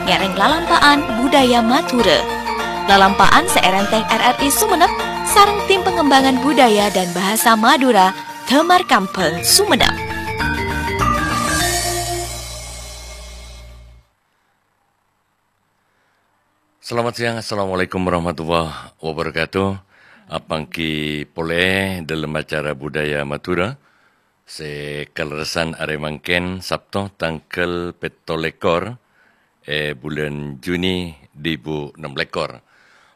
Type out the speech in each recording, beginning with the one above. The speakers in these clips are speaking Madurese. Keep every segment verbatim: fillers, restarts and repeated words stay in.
Èngghi lalampa'an budaya Madhurâ. Lalampa'an sè èrèntèng R R I Sumenep sareng Tim Pengembangan Budaya dan Bahasa Madura, Damar Kambhâl, Sumenep. Selamat siang, assalamualaikum warahmatullahi wabarakatuh. Apangghi polè dâlem acara Budaya Madhurâ sè kalerressan arè mangkèn, Sabto, tangghâl pètto lèkor è bulân Juni duwâ èbu ennem lèkor.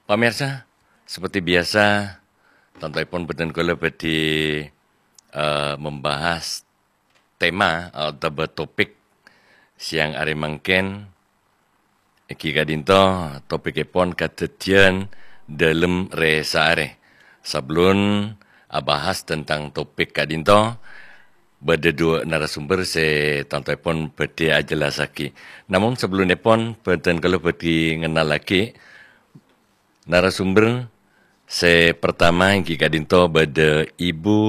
Pamèrsa, seperti biasa, tantoèpon bhâdhân kaulâ bhâdhi, eh, membahas tema otabâ topik siang arè mangkèn, èngghi ka'dinto topikèpon kadhâddhiyân dâlem rè-saarè. Sabellun abahas tentang topik ka'dinto, bâdâ duwâ' narasumber sè tantoèpon bhâdhi ajellassaghi. Namong sabellunèpon, bhâdhân kaulâ bhâdhi ngennallaghi narasumber sè partama èngghi ka'dinto bâdâ Ibu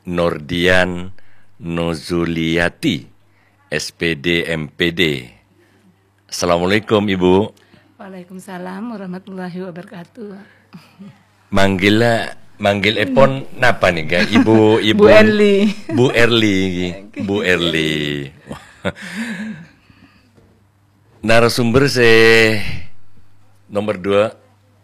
Nordian Nozuliyati, S P D, M P D. Assalamualaikum, Ibu. Waalaikumsalam warahmatullahi wabarakatuh. Manggil, manggil èpon napa nèka, Ibu, Ibu? Bu Erli. Bu Erli, Bu Erli. Narasumber sè nomor dua,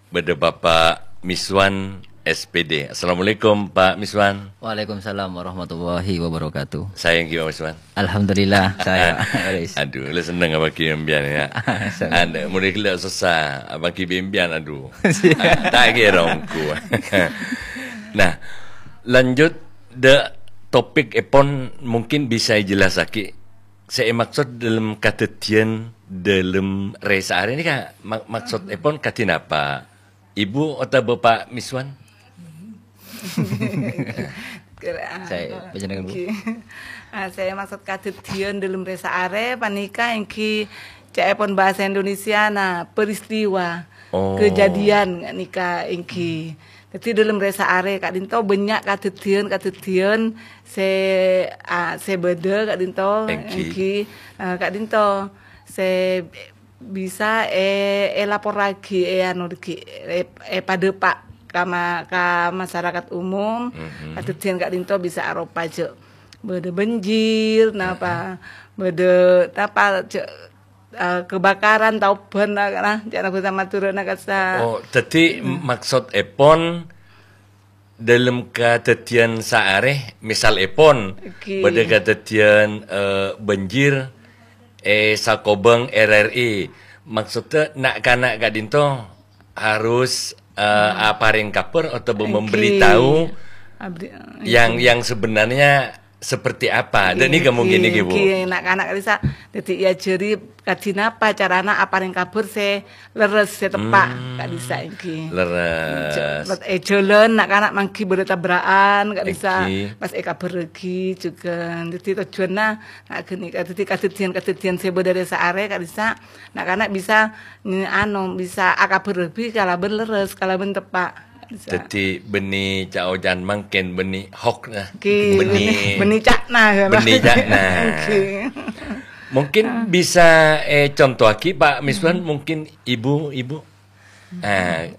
bâdâ Bapak Miswan, S P D. Assalamualaikum, Pak Miswan. Waalaikumsalam warahmatullahi wabarakatuh. Saè èngghi, Pak Miswan? Alhamdulillah, saè. Adhu, la senneng apangghi bi' sampèyan, ya. Senneng. Anu, mulai gila susah, apangghi bi' sampèyan, adhu. Siap. Ta' kèra ongghu. Nah, lanjut dâ' topikèpon mungkin bisa èjellassaghi. Sè èmaksod dâlem kadhâddhiyân dâlem rè-saarè nèka ma-, maksodèpon kadhi napa? Ibu otabâ Pak Miswan? Kèra, Saè, panjhennengngan, Bu. Èngghi. Ah, sè èmaksod kadhâddhiyân dâlem rè-saarè panèka èngghi ca'èpon bhâsa Indonesiana, peristiwa, Oh. kejadian nèka èngghi. Dhâddhi, dâlem rè-saarè ka'dinto bânnya' kadhâddhiyân-kadhâddhiyân sè, ah, sè bâdâ ka'dinto, Èngghi. èngghi, eh, ka'dinto sè bisa è-, èlaporraghi, è-, anu, ghi-, è-, èpadâpa' ka ma-, ka masarakat umum, Mhm. kadhâddhiyân ka'dinto bisa aropa jâ' bâdâ banjir, napa, Mhm. bâdâ, napa, jâ', eh, kebakaran, taobân, na-, na-, ca'na bhâsa Madhurâna kassa. Oh, dhâddhi Mhm. maksodèpon dâlem kadhâddhiyân saarè, misalèpon, Èngghi. bâdâ kadhâddhiyân, eh, banjir è sakobhâng R R I. Maksoddhâ, na'-kana' ka'dinto harus, eh, Hmm. aparèng kabhâr otabâ Èngghi. memberitahu Abdi-, yang, èngghi. yang sebenarnya seperti apa. Dâ' nèka Èngghi, mungkin nèka, Bu. èngghi, na'-kana' ka'dissa'. Dhâddhi, èajhâri kadhi napa carana aparèng kabhâr sè lerres, sè teppa', Hmm. ka'dissa' èngghi. Lerres. Jâ-, è jhâlân na'-kana' mangghi bâdâ tabra'an, ka'dissa' Èngghi. pas èkabhârrâghi jhughân. Dhâddhi tojjhuwânna, na'-, ghânèka, dhâddhi kadhâddhiyân-kadhâddhiyân sè bâdâ rè-saarè, ka'dissa' na'-kana' bisa, anu, bisa akabhârrâghi kalabân lerres, kalabân teppa'. Bisa. Dhâddhi, bânnè ca'-oca'an mangkèn, bânnè hoax, nah. Oke, Bânnè, bânnè, bânnè ca'na, ya. bânnè ca'na. Oke. Mungkin Ah. bisa, eh, contohaghi, Pak Miswan, Hmm. mungkin ibu, ibu. Ah,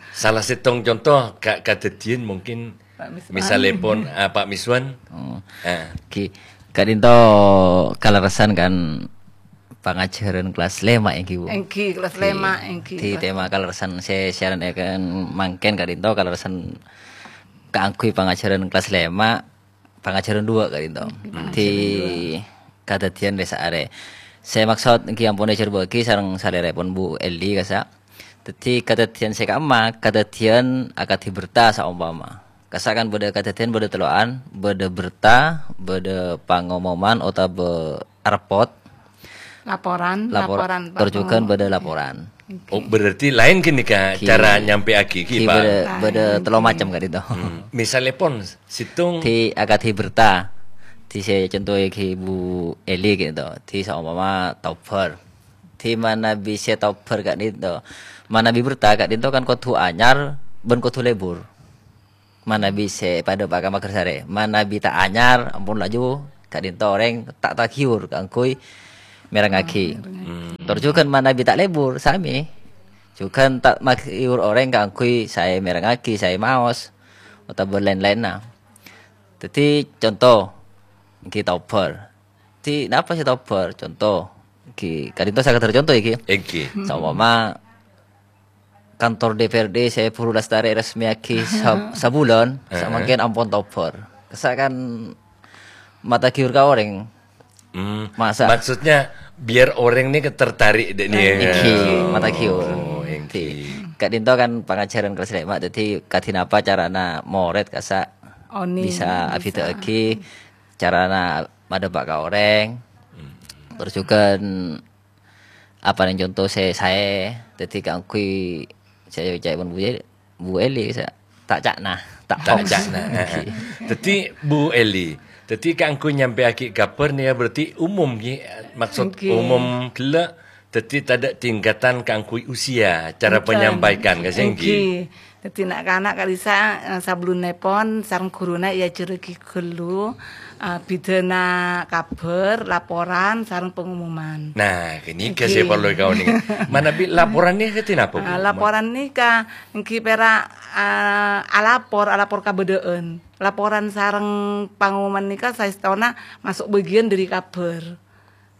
salah sèttong contoh ka-, kadhâddhiyân mungkin Pak Miswan. misalèpon, ah, Pak Miswan. Oh. Ah. Ki, ka'dinto kalerressan kan pangajhârân kelas lèma' èngghi, Bu? Èngghi, kelas Di, lèma', èngghi, di kelas tema kalerressan sè siaran èkan mangkèn ka'dinto kalerressan kaangghuy pangajhârân kelas lèma', pangajhârân duwâ' ka'dinto. Èngghi, Di pangajhârân duwâ'. Kadhâddhiyân rè-saarè. Sè maksod èngghi ampon èjhârbâ'âghi sareng salèrèpon Bu Eli kassa'. Dhâddhi kadhâddhiyân sè ka'imma, kadhâddhiyân akadhi berta saompama. Kassa' kan bâdâ kadhâddhiyân bâdâ tello'an, bâdâ berta, bâdâ pangomoman otabâ repot. Laporan, Lapor-, laporan, tor jhughân Pak. bâdâ laporan. Oke. Oh, berarti laèn ghânèka Ki-, cara nyampèyaghi ghi, ki Pak? bâdâ, bâdâ Laèn. tello macem ka'dinto. Hmm. Misalèpon, sèttong Di akadhi berta, di sè contoh ghi Bu Eli ka'dinto, di saompama taobhâr. Di manabi sè taobhâr ka'dinto, manabi berta ka'dinto kan kodhu anyar bân kodhu lebur. Manabi sè padâ pa-, ka maghârsarè. Manabi ta' anyar, ampon laju ka'dinto orèng ta', ta' ghiur kaangghuy mèrengngaghi. Tor jhughân manabi ta' lebur, samè. Jhughân ta' maghiur orèng kaangghuy saè mèrengngaghi, saè maos, otabâ laèn-laènna. Dhâddhi, conto, èngghi tobhâr. Dhâddhi, napa sè tobhâr? Conto, èngghi, ka'dinto sakadhâr conto, èngghi. Èngghi. Saompama kantor D P R D sè buru lastarè resmiyaghi sa-, sabulân, samangkèn ampon tobhâr. Kassa' kan mataghiur ka orèng. Hmm, masa? Maksudnya biar orang ini tertarik dek nih. Èngghi, mataghiur. Oh, èngghi. Dhâddhi, ka'dinto kan pangajhârân kelas lèma', dhâddhi kadhi napa carana morèd kassa' Oni, bisa bisa. Abhidhâ'aghi carana madhâpa' ka orèng. Hmm. Terros jhughân apa nèng conto sè saè, dhâddhi kaangghuy sè ca'èpon Bu Ye-, Bu Eli, sa-, ta' ca'na, ta' Ta' hoax. Ca'na. Èngghi. Dhâddhi, Bu Eli, dhâddhi kaangghuy nyampèyaghi kabhâr nèka berarti umum, ghi? Maksud Èngghi. Umum ghellâ', dhâddhi tadâ' tingkatan kaangghuy usia, cara Bhunten. Penyampaikan, ka sè èngghi? Èngghi. Dhâddhi na'-kana' ka'dissa', eh, sabellunnèpon sareng ghuruna èajhârraghi ghâllu, eh, bidhâna kabhâr, laporan, sareng pengumuman. Nah, ghânèka Èngghi. Sè parlo èkaonèng. Manabi laporan nèka kadhi napa, Bu? Ah, laporan nèka èngghi pèra', ah, alapor, alapor kabâdâ'ân. Laporan sareng pangumuman nèka saèstona maso' bâgiyân dhâri kabhâr.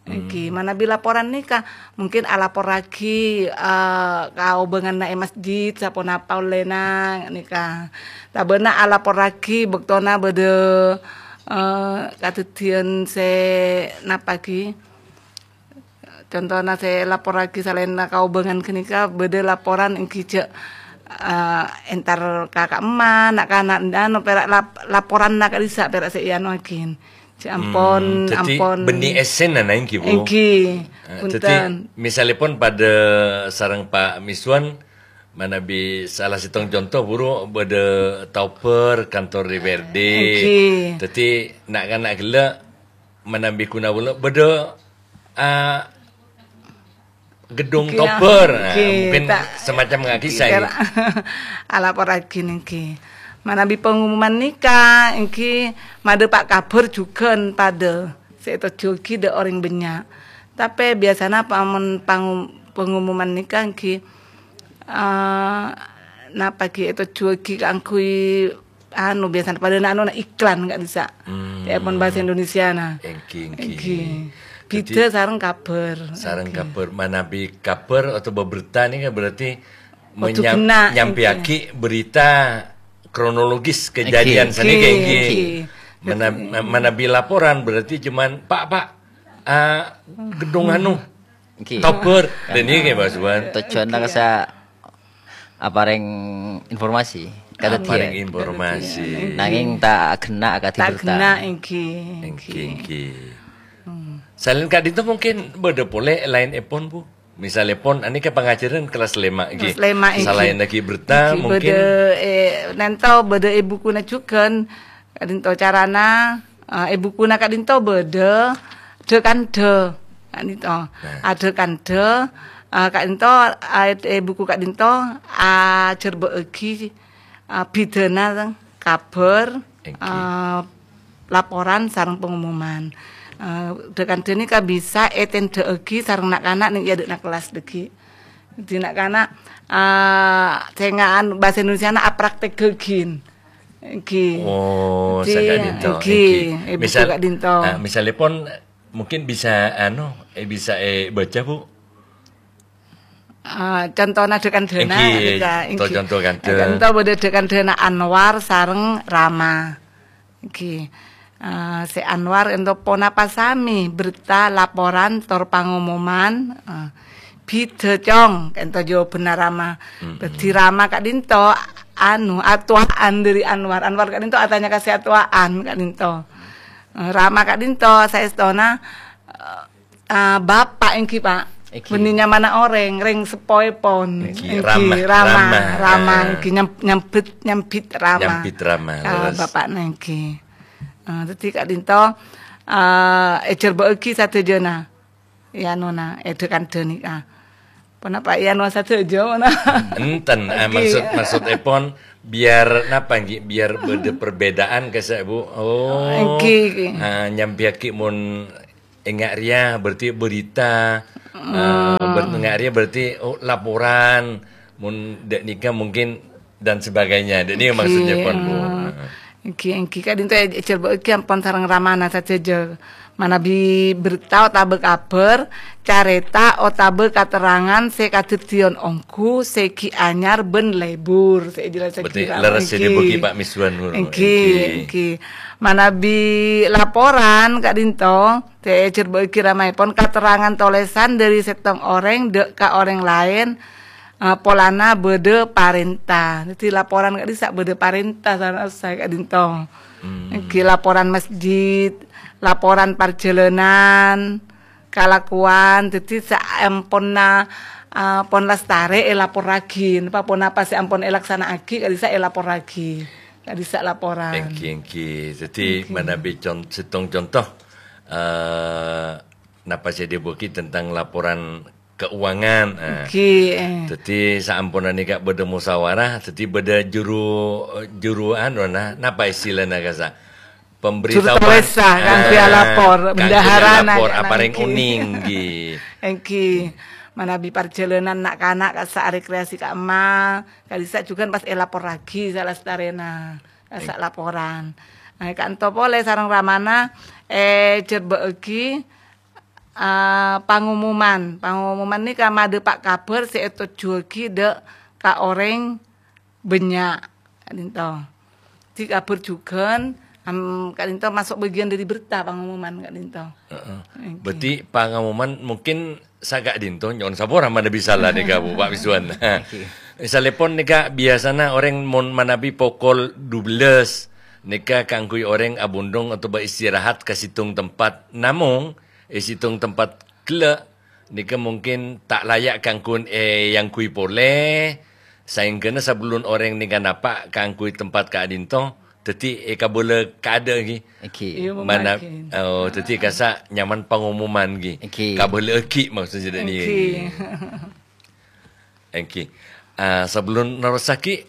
Èngghi, Hmm. manabi laporan nèka, mungkin alaporraghi, eh, kaobânganna è masjid, saponapa ollèna, nèka. Tabâna alaporraghi bâktona bâdâ, eh, kadhâddhiyân sè napa, ghi? Contona sè laporraghi salaènna kaobângan ghânèka, bâdâ laporan èngghi jhâ', eh, entar ka ka'emma, na'-kana', anu, pèra' lap-, laporanna ka'dissa' pèra' sè èanoaghi. Jhâ' ampon, Hmm, dhâddhi ampon. Bânnè èssèna, èngghi, Bu? Èngghi, Eh, bhunten. Dhâddhi, misalèpon padâ sareng Pa' Miswan, manabi salah sèttong conto, buru bâdâ tobhâr kantor D P R D. Èngghi. Dhâddhi, na'-kana' ghellâ', manabi ghuna bâlâ, bâdâ, ah, gedung Èngghi, tobhâr. Nah, èngghi, mungkin ta-, semacam ngakisa, èngghi, èngghi. Alaporraghi, èngghi. Manabi pengumuman nèka, èngghi, madhâpa' kabhâr jhughân padâ sè ètojjhuwâghi dâ' orèng bânnya'. Tapè biyasana pamon-, pangum-, pengumuman nèka, èngghi, eh, napa, ghi, ètojjhuwâghi kaangghuy anu, biyasana padâna anu, na iklan ka'dissa'. Hmm. Ca'èpon bhâsa Indonesiana. Èngghi, èngghi. Èngghi. Dhâddhi, bidhâ sareng kabhâr. Sareng èngghi. Kabhâr, manabi kabhâr otabâ berta nèka berarti Kodhu menya-, ghenna, nyampèyaghi èngghi. Berita kronologis èngghi. Kejadian sanèka, èngghi. Èngghi. Mana-, manabi laporan berarti cuman, "Pak, Pak, ah, gedung anu." Èngghi. Tobhâr. Karena Dan ini kayak Mas Wan. Tujuanna kassa' aparèng informasi ka Aparèng kadhâddhiyân. Informasi. Nangèng ta' ghenna kadhi Ta' berta. Ghenna, èngghi, èngghi, èngghi. Hmm. Salaèn ka'dinto mungkin bâdâ polè laènèpon, Bu. Misalèpon, anèka pangajhârân kelas lèma', èngghi. Kelas lèma', èngghi. Salaèn lagi berta, èngghi, mungkin bâdâ, eh, nènto bâdâ è bukuna jhughân. Ka'dinto carana, eh, è bukuna ka'dinto bâdâ dhâ-kandhâ. Ka'dinto. Nah. Adhâ-kandhâ, eh, ka'dinto, eh, è buku ka'dinto ajhârbâ'âghi, eh, bidhâna kabhâr, èngghi. Eh, laporan sareng pengumuman. Eh, dhâ-kandhâ nèka bisa ètèndhâ'âghi sareng na'-kana' nèng è adâ'na kellas dhâggi'. Dhâddhi na'-kana', eh, sènga' anu, bhâsa Indonesiana aprakteghâghi. Èngghi. Oh, Dhâddhi, saka'dinto, èngghi, èngghi. È buku Misal-, ka'dinto. Ah, misalèpon mungkin bisa, anu, eh, bisa èbâca, Bu? Ah, contona dhâ-kandhâna, èngghi, nèka, to èngghi. Conto kandhâ. Conto bâdâ dhâ-kandhâna Anwar sareng Rama. Èngghi. Ah, sè Anwar ènto ponapa samè berta laporan tor pangomoman, ah, bhidhâ, Cong, ènto jâwâbhânna Rama. Mm-mm. Dhâddhi Rama ka'dinto, anu, atuwa'an dhâri Anwar. Anwar ka'dinto atanya ka sè atuwa'an ka'dinto. Eh, Rama ka'dinto saèstona, eh, Ah, bapa' èngghi, Pak. Èngghi. Bânnè nyamana orèng, rèng seppoèpon. Èngghi, èngghi, rama, rama, rama, rama, eh. Èngghi, nyam-, nyambit, nyambit rama. Nyambit rama, ah, leres. Bapa'na èngghi. Ah, dhâddhi ka'dinto, ah, èjhârbâ'âghi sadhâjâna. È anona, è dhâ-kandhâ nèka. Ponapa è ano sadhâjâ, pona? Enten, ah, èngghi. Maksud, maksudèpon biar napa, èngghi? Biar bâdâ perbedaan, kassa', Bu. Oh, èngghi, èngghi. Ah, nyambiyâghi mon enga' rèya berarti berita, eh, ber-, enga' rèya berarti, oh, laporan, mon dâ' nèka mungkin dan sebagainya. Dâ' nèka maksudnya pon, Bu. Heeh. Èngghi, èngghi, ka'dinto è-, èjhârbâ'âghi ampon sareng ramana sadhâjâ. Manabi berta otabâ kabhâr, carèta otabâ katerrangan sè kadhâddhiyân ongghu sè ghi' anyar bân lebur, sè èjelasaghi. Berarti lerres sè èdhâbuwâghi Pa' Miswan ngono. Èngghi, èngghi. Manabi laporan ka'dinto, sè èjhârbâ'âghi ramaèpon katerrangan tolèsan dâri sèttong orèng dâ' ka orèng laèn, eh, polana bâdâ parènta. Dhâddhi laporan ka'dhissa' bâdâ parènta sareng saè ka'dinto. Hmm. Èngghi laporan masjid, laporan parjhâlânan, kalakowan. Dhâddhi saamponna, eh, pon lastarè èlaporraghi. Napa ponapa sè ampon èlaksana'aghi ka'dhissa' èlaporraghi. Ka'dhissa' laporan. Èngghi, èngghi. Dhâddhi manabi con-, sèttong conto, eh, napa sè èdhâbuwâghi tentang laporan keuangan. Ah. Èngghi, eh. Dhâddhi saamponna nèka bâdâ musyawarah, dhâddhi bâdâ juru, juru anu, nah, napa istilana kasa'? Pemberitahuan. Juru tolèsa, kaangghuy alapor, kaangghuy bendahara, alapor, aparèng onèng, èngghi. Èngghi. Manabi parjhâlânan na'-kana' kasa' rekreasi ka'imma, ka'dhissa' jhughân pas èlaporraghi salastarèna, kasa' laporan. Nah, ka'dinto polè sareng ramana, eh, èjhârbâ'âghi, Ah, pangomoman. Pangomoman nèka madhâpa' kabhâr sè ètojjhuwâghi dâ' ka orèng bânnya', ka'dinto. Dhâddhi kabhâr jhughân, am, ka'dinto maso' bâgiyân dâri berta pangomoman, ka'dinto. Heeh. Èngghi. Berarti pangomoman mungkin saka'dinto, nyo'on sapora manabi sala nèka, Bu, Pa' Miswan. Èngghi. Misalèpon nèka biyasana orèng mon manabi pokol dua belas, nèka kaangghuy orèng abhundhung otabâ istirahat ka sèttong tempat. Namong, è sèttong tempat ghellâ', nèka mungkin ta' laya' kaangghuy èangghuy polè, saèngghâna sabellun orèng nèka napa' kaangghuy tempat ka'dinto, dhâddhi èkabâlâ kaadâ' ghi. Èngghi. Iya, mana, mungkin. Oh, dhâddhi kasa' nyaman pangomoman ghi. Èngghi. Kabâlâ'âghi maksudnya dhâ' nèka. Èngghi. Èngghi. Ah, sabellun nerrossaghi,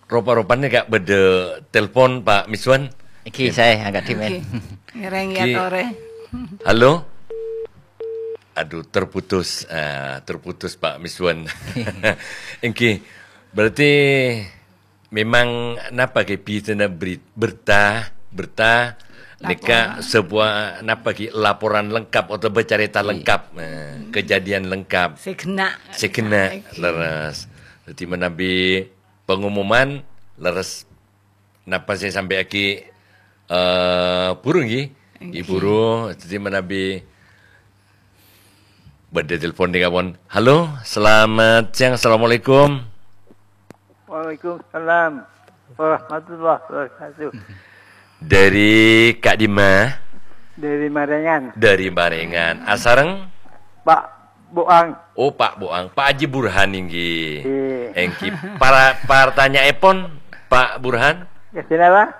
ropa-ropana ka bâdâ telpon, Pa' Miswan. Èngghi, saè angka' dhimèn. Èngghi. Ngèrèng ya, Ki. Torè. Halo? Aduh, terputus. Ah, terputus, Pa' Miswan. Èngghi. Berarti memang napa ghi bidhâna beri-, berta, berta nèka sebuah napa ghi laporan lengkap otabâ carèta lengkap, eh, kejadian lengkap. Sè ghenna'. Sè ghenna', èngghi. Lerres. Dhâddhi manabi pengumuman, lerres napa sè èsampèyaghi, eh, buru, èngghi? Èngghi. Buru. Dhâddhi manabi bâdâ telepon nèka pon. Halo, selamat siang. Assalamualaikum. Waalaikumsalam warahmatullahi wabarakatuh. Dari ka'dimma? Dari Marengan. Dari Marengan. Asareng? Pak Boang. Oh, Pak Boang. Pak Haji Burhan, èngghi. Iya. Èngghi. Para, pertanyaanèpon, Pak Burhan? Ya, silakan.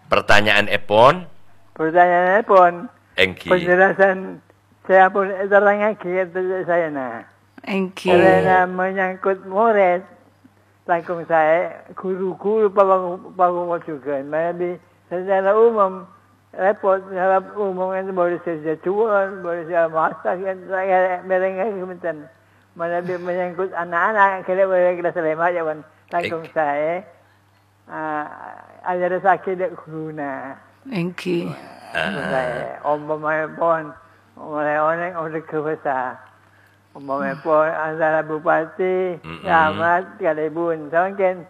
Pertanyaanèpon? Pertanyaanèpon? Èngghi. Penjelasan saya pun terangkan ke saya, nah. Èngghi. Karena menyangkut murid, langkong saè, guru-guru pabang-, pabangkol jhughân. Manabi secara umum, repot, secara umum kan boleh sejatuhan, boleh segala macam, kan, merengè bhunten. Manabi menyangkut anak-anak, kira boleh kita selema, ya, kan. Langkong saè, ah, ajarraghi dâ' ghuruna. Èngghi. Ah. Saè, ompama'èpon, mulai onèng, onèng ke basa. Umpama'èpon antara bupati, camat, kalèbun. Samangkèn,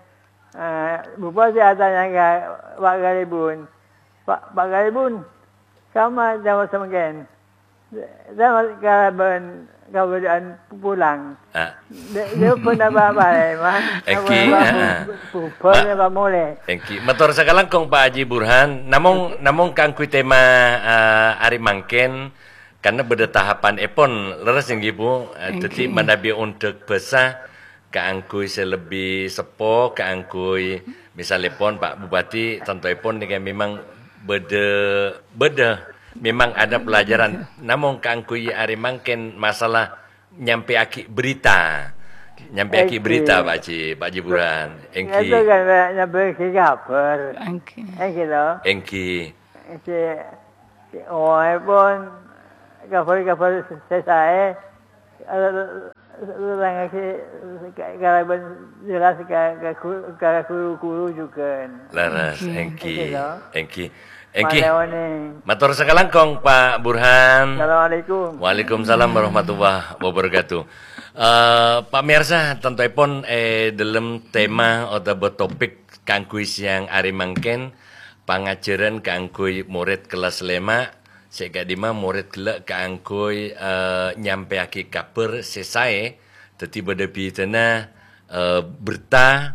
eh, bupati atanya ka Pak Kalèbun, "Pak, Pak Kalèbun, camat, camat samangkèn. Camat kalabân kabâdâ'ân pulang." Ah. Dâ-, dâ' pon apa-apa, Mas. Èngghi, apa-apa, ah, ah. Bu-, bubar apa molè. Èngghi, mator sakalangkong, Pak Haji Burhan. Namong, namong kaangghuy tema, eh, arè mangkèn, Karena bâdâ tahapanèpon, lerres èngghi, Bu. Eh, dhâddhi manabi ondhâg bhâsa kaangghuy sè lebbi seppo, kaangghuy misalèpon Pak Bupati, tantoèpon nèka memang bâdâ, bâdâ, memang ada pelajaran. Namong kaangghuy arè mangkèn masalah nyampèyaghi berita. Nyampèyaghi berita, Pak Haji, Pak Haji Burhan. Èngghi. Itu kan nyampèyaghi kabhâr. Èngghi. Èngghi, to? Èngghi. Sè, sè owaèpon, kabhâr-kabhâr sè saè, eh, nerrangngaghi kalabân jelas ka, ka gu-, ka guru-guru jhughân. Leres, Ngghi. Èngghi, Èngghi, to. Èngghi. Èngghi. Malè onèng. Mator sakalangkong, Pak Burhan. Assalamualaikum. Waalaikumsalam warahmatullahi wabarakatuh. Eh, Pak miyarsa, tantoèpon è dhâlem tema otabâ topik kaangghuy sèyang arè mangkèn, pangajhârân kaangghuy morèd kellas lèma', sè ka'dimma morèd ghellâ' kaangghuy, eh, nyampèyaghi kabhâr sè saè, dhâddhi bâdâ bhidhâna, eh, berta,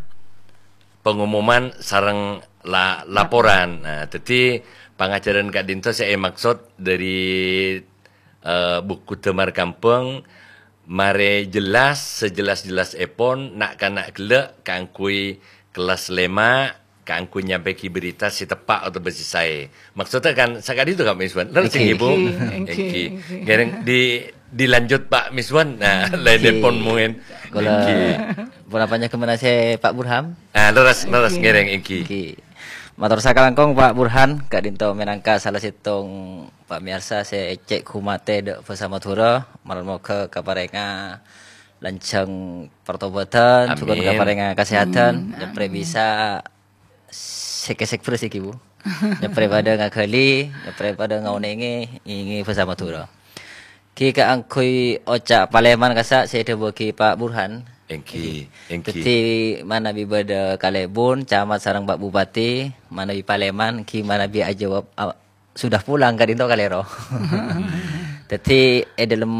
pengumuman, sareng la-, laporan. Nah, dhâddhi pangajhârân ka'dinto sè èmaksod dhâri, eh, buku Damar Kambhâng, marè jelas, sejelas-jelasèpon, na'-kana' ghellâ' kaangghuy kellas lèma', kaangghuy nyampèyaghi berita sè teppa' otabâ sè saè. Maksoddhâ kan saka'dinto, Kak Miswan? Leres, Èngghi. Èngghi, Bu? Èngghi, Èngghi. Èngghi. Ngèrèng di, dilanjut, Pak Miswan. Nah, Èngghi. Laènèpon mungkin. Kaulâ Èngghi. Ponapa nyamana sè Pak Burhan? Ah, leres, leres, Èngghi. Ngèrèng, Èngghi. Èngghi. Mator sakalangkong, Pak Burhan, ka'dinto mènangka sala sèttong pamèyarsa sè cè' ghumatè dâ' bhâsa Madhurâ, marmogâ kaparèngnga lanjhâng partobâdhân, jhughân Amin. kaparèngnga kasèhadhân, Amin, nyaprè amin. bisa sèk-sèk bherrâs iki, Bu. Nyaprè padâ ngaghâli, nyaprè padâ ngaonèngè, ngèngè bhâsa Madhurâ. Ghi kaangghuy oca' palèman kassa' sè èdhâbuwâghi Pak Burhan. Èngghi, èngghi. Dhâddhi manabi bâdâ kalèbun, camat sareng Pak Bupati, manabi palèman, ghi manabi ajâwâb, a-, sudah pulang ka'dinto kalèro. Dhâddhi è dhâlem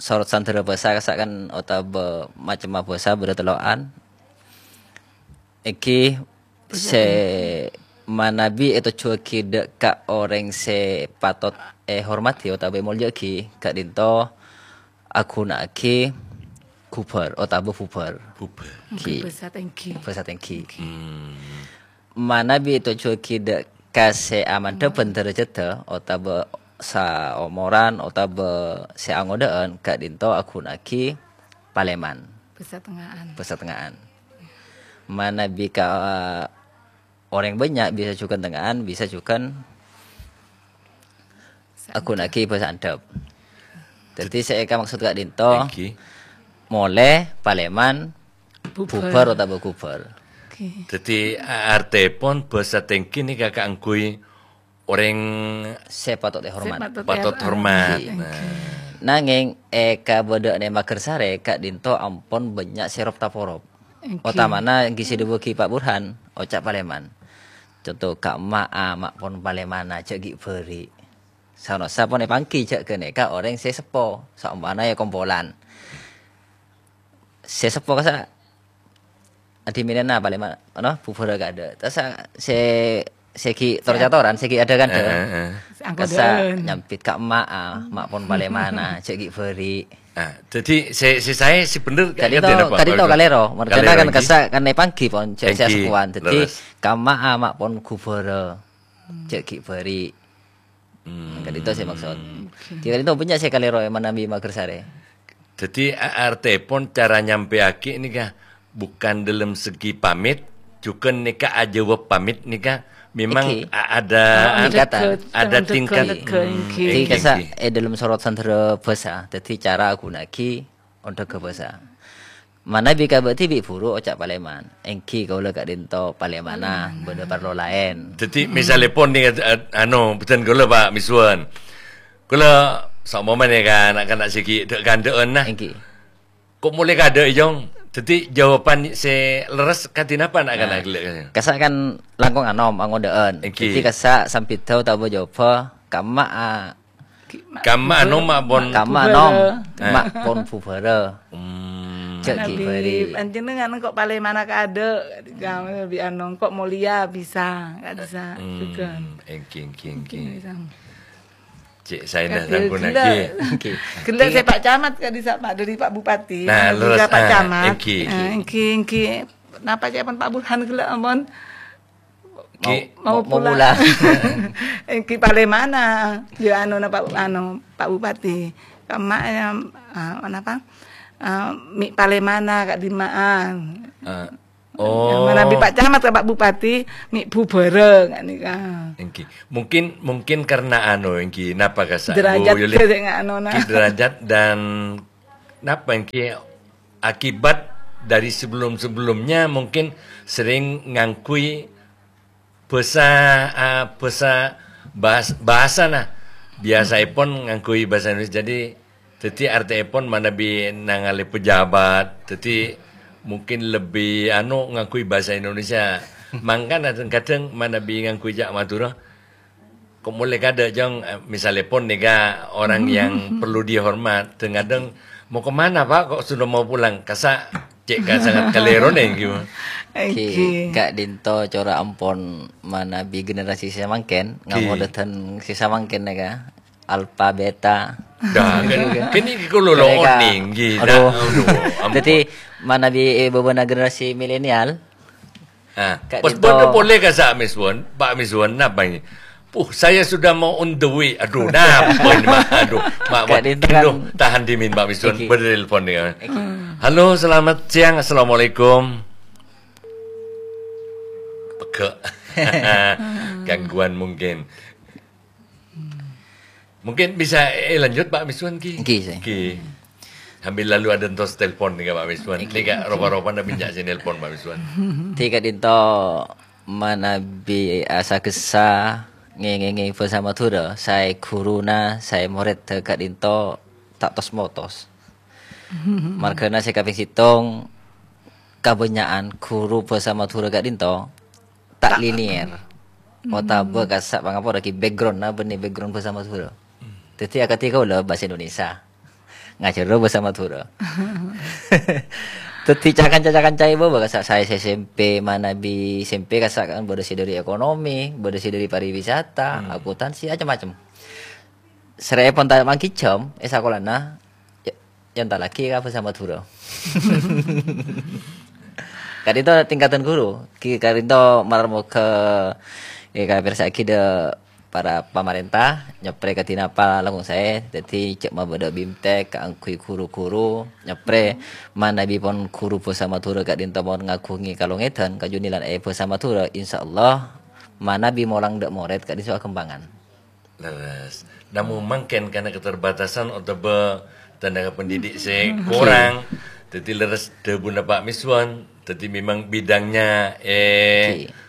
sorot sandhârâ bhâsa kassa' kan otabâ macemma bhâsa bâdâ tello'an. Èngghi sè manabi ètojjhuwâghi dâ' ka orèng sè patot èhormadhi otabâ èmolja'aghi, ka'dinto aghuna'aghi ghubâr otabâ bubâr. Bubâr. Ghi. Bhâsa tèngghi. Bhâsa tèngghi. Hmm. Manabi ètojjhuwâghi dâ' ka sè amandhâbhân dârâjhâddhâ otabâ saomoran otabâ sè angodâ'ân, ka'dinto aghuna'aghi palèman. Bhâsa tengnga'an. Bhâsa tengnga'an. Manabi ka orèng bânnya' bisa jhughân tengnga'an, bisa jhughân Bhâsa aghuna'aghi bhâsa andhâp. Dhâddhi sè èkamaksod ka'dinto, Èngghi. molè, palèman, Bubâr. bubâr otabâ ghubâr. Oke. Dhâddhi, a-, artèpon bhâsa tèngghi nèka kaangghuy orèng Sè patot èhormat. Sè patot patot èhormat. Èhormat. Èngghi. Nah. Nangèng, è kabâdâ'ânna Magersarè, ka'dinto ampon bânnya' sè rop-taporop. Èngghi. Otamana èngghi sè èdhâbuwâghi Pak Burhan, oca' palèman. Conto, "Ka'emma'a, ma' pon palèmana, jhâ' ghi' bâri'." Sa-, sa pon èpangghi jhâ' ghânèka orèng sè seppo, saompamana è kompolan. Sè seppo kassa' adhiminana palèman, ano, bubârâ kaadâ'. Terros sa-, sè, sè ghi' tor-catoran, sè ghi' adhâ-kadhâ. Heeh, heeh. Kassa' Anggodhân. Nyambit ka emma'a, ma' pon palèmana, jhâ' ghi' bâri'. Ah, dhâddhi sè, sè saè, sè bhender, Ka'dinto, ka'dinto napa, Pak? Ka'dinto kalèro. Mardhâna Kalèro, kan èngghi? Kassa' kan èpangghi pon, jhâ', jhâ' Èngghi, seppowan. Dhâddhi, leres. Ka'emma'a, ma' pon bubârâ, jhâ' ghi' bâri'. Hmm. Ka'dinto sè maksod. Oke. Ka'dinto bânnya' sè kalèro è manabi Magersarè. Dhâddhi, a-, artèpon cara nyampèyaghi nèka bukan dalam segi pamit, jhughân nèka ajâwâb pamit nèka memang Èngghi. a-, ada, Oh, ada tingkatan. Ada tingkat. Èngghi. Èngghi, Èngghi, kassa' èngghi. è dalam sorot sandhârâ bhâsa. Dhâddhi, cara aghuna'aghi ondhâghâ bhâsa. Manabi ka bâ'dhi bi' buru oca' palèman. Èngghi kaulâ ka'dinto palèmana, Palèmana. bâdâ parlo laèn. Dhâddhi, misalèpon nèng, ad-, ad-, ano, bhâdhân kaulâ, Pak Miswan. Kaulâ saompamana ka na'-kana' sè ghi' dhâ'-kandhâ'ân, nah. Èngghi. Ko' molè kaadâ', Jong. Dhâddhi, jawaban sè lerres kadhi napa na'-kana' Nah, ghellâ'? Kassa' kan langkong anom, angodâ'ân. Èngghi. Dhâddhi, kassa' sambiddhâ otabâ jawabhâ, ka'emma'a, Ki-, ma-, Ka'emma'a bubârâ. nom ma' pon Ka'emma'a bubârâ. nom, Eh. ma' pon bubârâ. Hmm. Jhâ' ghi' Manabi bâri'. panjhennengan engko' palèmana kaadâ', kamu lebih anu, engko' molèya bisa, nggak bisa Hmm. juga. Èngghi, èngghi, èngghi. Bisa. Cè' saèna Kadhi langkung ghellâ'. lagi. Èngghi. Ghellâ' sè Pak Camat kadhi sa-, Pak, dâri Pak Bupati, Nah, anu leres, juga Pak ah, Camat. èngghi. Eh, èngghi, èngghi. Napa ca'èpon Pak Burhan ghellâ' ampon? Ki, Mau, mau mau pulang. pulang. Eh, ki palèmana? Ya, anu, napa, anu, Pak Bupati. Ka'emma'a, ya, ah, napa? Ah, mi' palèmana, ka'dimma'a? Ah. Oh. Manabi Pak Camat ka Pak Bupati, mè' bhubhârâ, nga' nèka. Èngghi. Mungkin, mungkin karena anu, èngghi, napa kasa', Bu Derajat Yuli? Sè nga' anona. Ki derajat dan napa èngghi, akibat dari sebelum-sebelumnya mungkin sering ngangghuy bhâsa, ah, bhâsa bahas-, bhâsana. Biyasaèpon ngangghuy bhâsa Indonesia. Jadi, dhâddhi artèèpon manabi nangalè pejabat. Dhâddhi, mungkin lebbi, anu, ngangghuy bhâsa Indonesia. Mangkana, kadhâng-kadhâng manabi ngangghuy ca' Madhurâ, ko' molè kadâ', Jâng, eh, misalèpon nèka orang yang perlu dihormat, kadhâng-kadhâng, "Mau kemana, Pak? Kok sudah mau pulang?" Kasa' cè' ka sangat kalèrona, èngghi, Bu. Èngghi. Ka'dinto cora' ampon manabi generasi sè samangkèn, ngamodâ dhân sè samangkèn nèka. Alpha, Beta. Dah, kan, kan ini kalau lo Mereka, oning, gitu. Aduh. Aduh, ampon. Jadi, manabi, eh, bâbâna generasi milenial, Ah, pas ka'dinto. Bondo polè kasa' Miswon, Pak Miswon, napa ini? Puh, saya sudah mau on the way. Aduh, napa ini, Mak? Aduh, Mak, Mak. Ka'dinto kan. Aduh, tahan dimin, Pak Miswon. Iki. Bertelepon nih. Iki. Halo, selamat siang. Assalamualaikum. Pegge'. Gangguan mungkin. Mungkin bisa, eh, lanjut, Pak Miswan, ki? Nggih, sih. Nggih. Sambil lalu ada entos telepon nih, Pak Miswan. Nggih. Nih, Kak, ropa-ropa ndak pinjak sini telepon, Pak Miswan. Ti ka'dinto manabi asa kessa ngengenge basa Madura, sae guruna, sae moredda ka'dinto ta' tos-motos. Margana se kaping settong, kabanyakan guru basa Madura ka'dinto ta' linier. Otabâ kassa' pangapora ki background-na bânnè background basa Madhurâ. Dhâddhi akadhi kaulâ bhâsa Indonesia. Ngajhârâ bhâsa Madhurâ. Dhâddhi ca-kanca-ca-kanca ibu kassa' saè S M P manabi S M P kassa' kan bâdâ sè dâri ekonomi, bâdâ sè dâri pariwisata, akuntansi, macem-macem. Sèrè'èpon ta' mangghi jhâm è sakolana, ya, èntallaghi ka bhâsa Madhurâ. Ka'dinto tingkatan guru, ki ka'dinto malar moghâ, eh, kapirsa'aghi dâ' para pamarènta, nyaprè kadhi napa langkong saè, dhâddhi jhâ' mabâdâ bimtek kaangghuy guru-guru, nyaprè manabi pon guru bhâsa Madhurâ ka'dinto mon ngaghungè kalongèdhân, kajunèlan è bhâsa Madhurâ, insyaallah manabi molang dâ' morèd ka'dinto aghâmpangan. Leres. Namong mangkèn karena keterbatasan otabâ tenaga pendidik sè korang, dhâddhi leres dhâbuna Pak Miswan, dhâddhi memang bidangnya, eh, napa?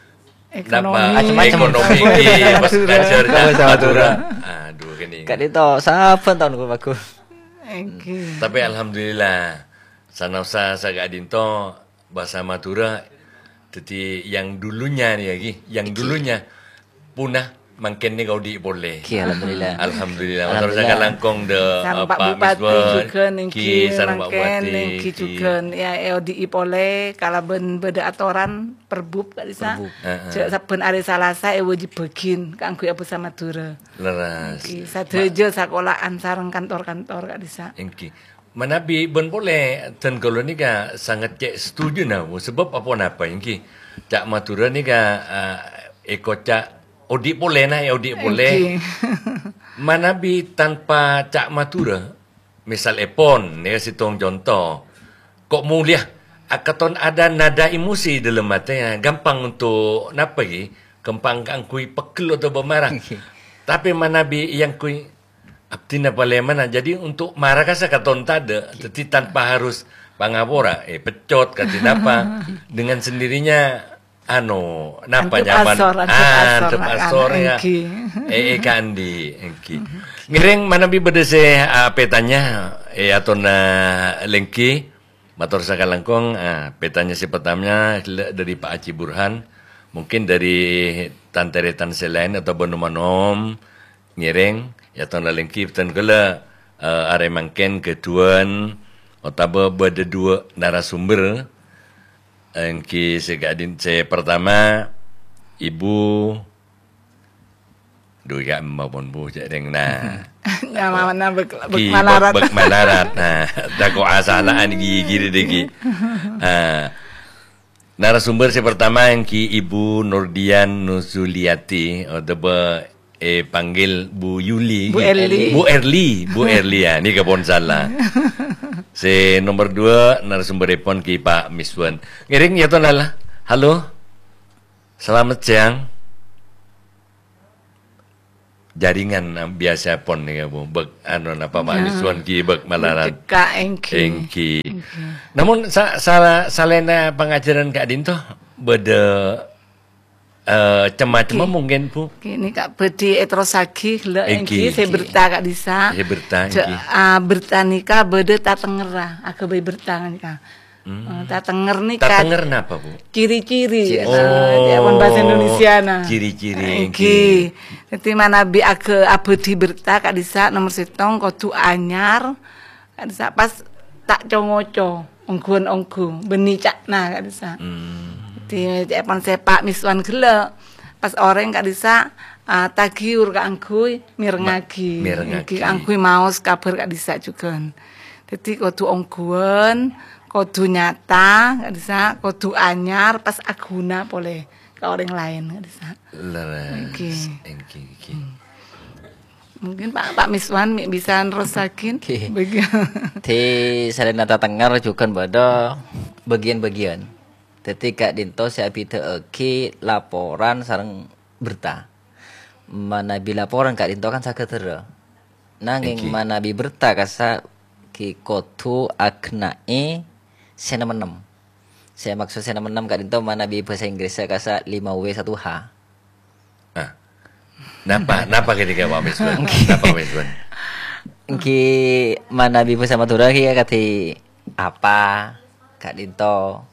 Ekonomi. Macem-macem. Ekonomi, nggih, pas ngajar, Madhurâ. Aduh, gini. Ka'dinto sabbhân taon ku bagus. Oke. Tapi alhamdulillah, sanaosa saka'dinto bhâsa Madhurâ. Dhâddhi yang dulunya nih, ya, Ki, yang dulunya punah, mangkèn nih kaodhi' polè. Ki, alhamdulillah. Alhamdulillah. Mator saka langkong dâ', Pak Bupati Miswan, jhughân, Ki, sareng Pak Bupati, mangkèn, Ki, jhughân, ya, èodhi'i polè kalabân bâdâ atoran perbub, Kak Lisa. Perbub. Heeh. Jhâ' sabbhân arè Salasa èwajibbhâghin kaangghuy bhâsa Madhurâ. Leres. Ki, sadhâjâ sakola'an sareng kantor-kantor, Kak Lisa. Èngghi. Manabi bân polè, dân kaulâ nèka sanget cè' setuju, nah, Bu. Sabâb aponapa èngghi? Ca' Madhurâ nèka, eh, èkoca' odhi' polè, nah, èodhi' polè. Èngghi. Manabi tanpa ca' Madhurâ, misal èpon, nèka sèttong conto. Ko' molèya, akaton ada nada emosi dalam ati, ya, gampang untuk napa, ghi? Gampang kaangghuy pegghel otabâ mara. Èngghi. Tapi manabi èangghuy Abdhina palèmana, jadi untuk mara ka sakaton tadâ', dhâddhi tanpa harus pangapora, eh, peccot, kadhi napa, dengan sendirinya, anu, napa nyaman? Antep asor, antep asor, antep asor, ya. Èngghi. Eh, eh, kandi, èngghi. Ngèrèng manabi bâdâ sè, ah, petanya, eh, atona lèngghi. Mator sakalangkong, ah, petanya sè pertama dâri Pak Haji Burhan, mungkin dâri tan-tarètan sè laèn otabâ nom-anom ngèrèng, ya, ton lalèngghi bhâdhân kaulâ, eh, arè mangkèn ghâdhuwân otabâ bâdâ duwâ' narasumber, èngghi sè ka'din-, sè pertama, Ibu Duh, ya, ampon, Bu, cè' rèng, nah. Nyamana bek, bek Ki, malarat. Bek, bek malarat, nah. Tako' asalaan gigi deh, Ki. Ah. Narasumber sè pertama èngghi Ibu Nurdian Nuzuliati, otabâ, eh, panggil Bu Yuli, Bu Erli. Bu Erli, Bu Erli, ya, nèka pon salah. Sè nomer dua, narasumberèpon Ki Pak Miswan. Ngèrèng ya, Ton, lala. Halo. Selamat siang. Jaringan, eh, biasa pon nèka, Bu. Bâk, anu, napa, Pak Miswan Ki bâk malarat. Cekak, èngghi. Èngghi. Èngghi. Namun, sa-, sala-, salaènna pangajhârân ka'dinto, bâdâ Eh, cem-macemma Ngghi. Mungkin, Bu. Ngghi, nèka bhâdhi èterrossaghi ghellâ' Èngghi, èngghi, sè èngghi. Berta ka'dhissa'. Sè berta, Ja-, èngghi. Ah, berta nèka bâdâ tatengngerra, aghâbây berta nèka. Hmm. Eh, tatengngerra nèka Tatengngerra napa, Bu? Ciri-ciri, Ciri. Ah, Oh, ya, pon bahasa Indonesia, nah. Ciri-ciri, Èngghi. Èngghi. Dhâddhi manabi aghâ-, abhâdhi berta ka'dhissa' nomer sèttong kodhu anyar, Ka'dhissa' pas ta' co-ngoco, ongghuwân ongghu, bânnè ca'na ka'dhissa'. Hmm. Dhâddhi, ca'èpon sè Pak Miswan ghellâ', pas orèng ka'dhissa', ah, tagiyur kaangghuy mirengngaghi. Ma-, mirengngaghi. Kaangghuy maos kabhâr ka'dhissa' jhughân. Dhâddhi, kodhu ongghuwân, kodhu nyata ka'dhissa', kodhu anyar, pas aghuna polè ka orèng laèn ka'dhissa'. Leres. Èngghi. Èngghi, èngghi. Hmm. Mungkin Pak, Pak Miswan mè' bisa nerrossaghi. Oke. Bagi- Dhâddhi, salaènna tatengngerra jhughân bâdâ bâgiyân-bâgiyân. Dhâddhi, ka'dinto sè abhidhâ'aghi laporan sareng berta. Manabi laporan ka'dinto kan sagâdhârâ. Nangèng Èngghi. Manabi berta kassa' ghi' kodhu aghenna'è sè nem-ennem. Sè maksod sè nem-ennem ka'dinto manabi bhâsa Inggris kassa' lima W satu H. Ah. Napa, napa kènèka, Pak Miswan? Napa, Pak Miswan? Èngghi manabi bhâsa Madhurâ ghi' kadhi apa, ka'dinto.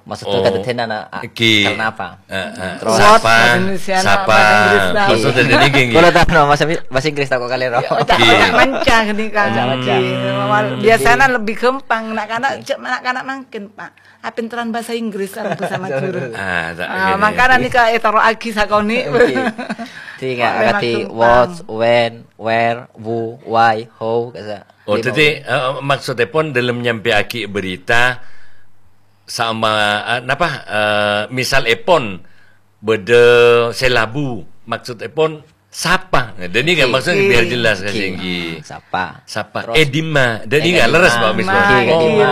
Maksudnya Oh, kadaddian ana-, a-, èngghi. Karena apa? Eh, eh. Terus What? Sapa? Bahasa Indonesia, Sapa? Bahasa Inggris, nah. Maksudnya ini gini. Kalau tak, no, bahasa, bahasa Inggris tak kok kali, no. Oh, tak, Ngghi. Tak manca gini, kan. Manca, manca. Wal-, biasanya lebih gampang. Nak-nak, Ngghi. Cek nak-nak mangkin, Pak. Apinteran bahasa Inggris sareng bahasa Madura. Ah, tak Ah, gini. Mangkana nèka ètoro'aghi sakonè'. Ngghi. Dhâddhi, Kok nggak memang ngerti gampang. What, when, where, who, why, how, kasa. Oh, Lima dhâddhi, W. Eh, maksudèpon dalam nyampèyaghi berita sama, eh, napa, eh, misalèpon bâdâ sè labu, maksudèpon sapa? Nah, dhâddhi kan Ngghi. Maksudnya biar Ngghi. Jelas, Ngghi. Kasih, ngghi. Ah, sapa? Sapa? Terus, Eh, dimma? Dhâddhi eh, kan leres, dimma? Pak Misbah? Ngghi, Oh, dimma?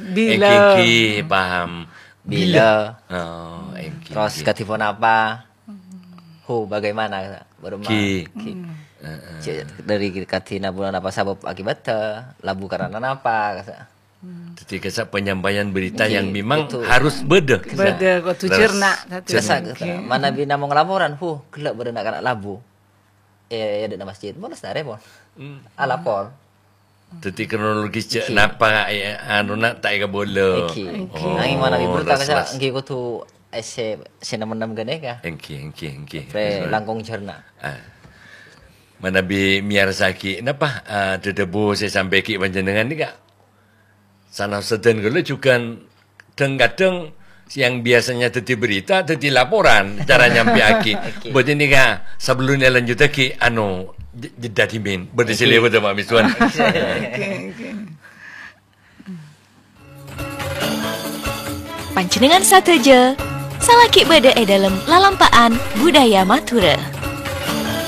Bila. Ngghi, ngghi, paham. Bila. Bila. Oh, ngghi, Terus ngghi. Kadhi ponapa? Who, bagaimana? Baru ma-, Ngghi. Ngghi. Heeh. Cek dari kadhina bulan apa sabab akibat, eh, labu karena napa? Dhâddhi kasa' penyampaian berita Ngghi, yang memang betul. Harus bâdâ. Bâdâ, kodhu Leres. Cerna, dhâddhi Kasa', ngghi. Manabi namong laporan, huh, ghellâ' bâdâ na'-kana' labu. Eh, ya, di masjid. Bonus na repon. Hmm. Ah, lapor. Dhâddhi kronologis cè' Ngghi. Napa, eh, anuna ta' èkabâlâ. Ngghi. Ngghi. Oh, Nanging manabi berta leres, kasa' leres. Ngghi kodhu esse sè nem-ennem ghânèka. Ngghi, ngghi, ngghi. Pre Betul. Langkong cerna. Ah. Manabi miyarsaghi, napa, ah, dhâdhâbu sè sampèyaghi panjhennengngan nèka? Sanaos sadhân kaulâ jhughân dhâng-kadhâng yang biasanya dhâddhi berita, dhâddhi laporan, cara nyampèyaghi. Oke. Bâdâ nèka, sabellunna lanjhuttaghi, anu, j-, jhedda dhimèn. Bâdâ sè Oke. Lèbât, Pak Miswan. Oke, oke. Panjhennengngan sadhâjâ, salaghi bâdâ è dâlem lalampa'an budaya Madhurâ.